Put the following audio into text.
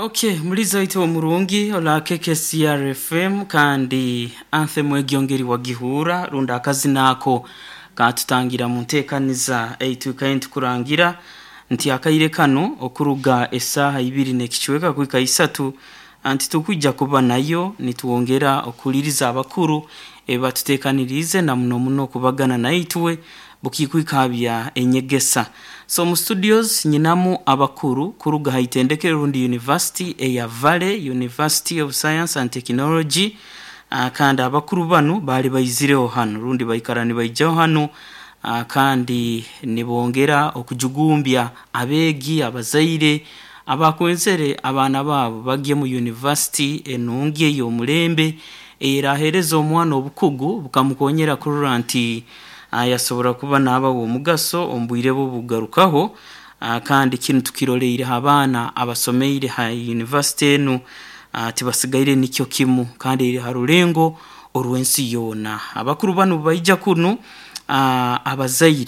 Okay, muliza waitu omurungi ola KKCR FM, kandi anthem egyongeri wagihura runda akazina ako katutangira mu nteekaniza eitukaye ntukurangira nti akaire kano okuruga esaaha ibiri n'ekicweka kuhika isatu anti tukwijja kuba nayo nitwongera okuliriza abakuru ebatuteekaniriize na muno muno kubagana naitwe bukikwikabya enyegesa. So mu studios nyinamu abakuru kuruga ha itendekero rundi university eya Valley University of Science and Technology, kandi abakuru banu baali baizireho hanu rundi baikara nibaijaho hanu, kandi nibongera okujugumbya abeegi, abazaire abakwenzere abaana baabo bagye mu university enungi ey'omulembe eyeraheereza omwana obukugu bukamukonyera kurora nti yasobora kuba naaba w'omugaso omu bwire bwe obukugarukaho. Kandi kinu tukiroleire ha baana abasomeire ha university enu, tibasigaire nikyo kimu kandi eri ha rulengo orw'ensi yoona. Abakuru banu baija kunu, abazaire.